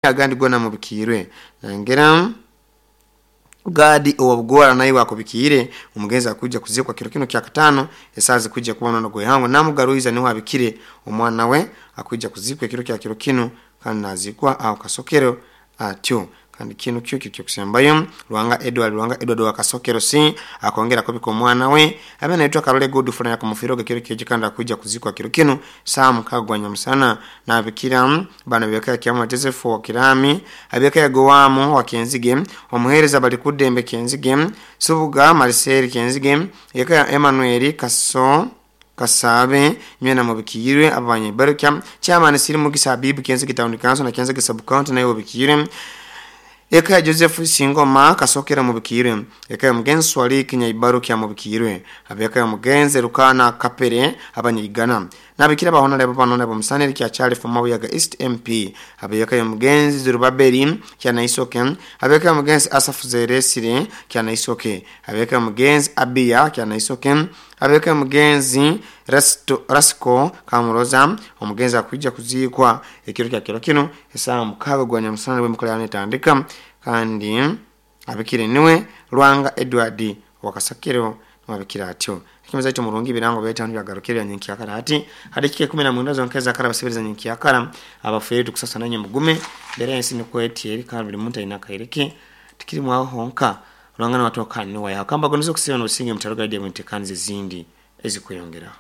Agandi gona mubikiirwe nangera Gadi owabugora naye akubikiire. Omugenzi akuija kuzikwa kiro kino kyakataano esaaha zikuija kuba munono gw'ihangwe. Namugaruiza niwe abikire omwana we, akwija kuzikwa ekiro kya kiro kinu kandi nazikwa aho Kasokero atyo. Kandi kinu kyo kiri kyokusembayo. Lwanga Edward, Lwanga Edward wa Kasokero C akongera akubika omwana we abe naitwa Karole Godfrey akumufiiroga ekiro kyekyo kandi akwija kuzikwa kiro kinu saaha 6 gwa nyamusana. Nabikira bana beka kyamwa Joseph wa Kirami, abeka ya Gowamu wa Kenzige, omuhereza bali kudembe Kenzige, Subuga Marcel Kenzige, eka ya Emmanuel Kaso Kasabe nywena mubikirwe abanye barukya chairman siri mugisa Habibu Kenzige Town Council na Kenzige Sub County nayo bikirwe, eka ya Joseph Singoma Kasokera mubikirwe, eka ya mugenzi Swali Kinyaibarukya mubikirwe, abeka ya mugenzi Rukana Kapere abanyigana nabikira bahona lebo banona bomusaneri kya Charles Mabuyaga East MP, abeka ya mugenzi Zerubabeli kya Naisoke, abeka ya mugenzi Asaf Zeresire kya Naisoke, abeka ya mugenzi Abia kya Naisoke, abeka ya mugenzi Rasko Kamuroza. Omugenzi akuija kuzikwa ekiro kya kiro kino esaaha 6 gwa nyamusana bwe netandika kandi abikire niwe Lwanga Edward wakasakiro wabikira atyo. Kimeza ito murungi birango beta byagarukira nyenkyakara hati hadikike 19 zonkeza kara basebeza nyenkyakara abafere tukusasa nanye mugume mbere ensi niko etieri kandi buli muntu alina kaireke tikiri mwaho honka Lwanga watu wakani wa yakamba gonizo kusiba no businge mutaruga ide mutekanize zindi ezikweyongera.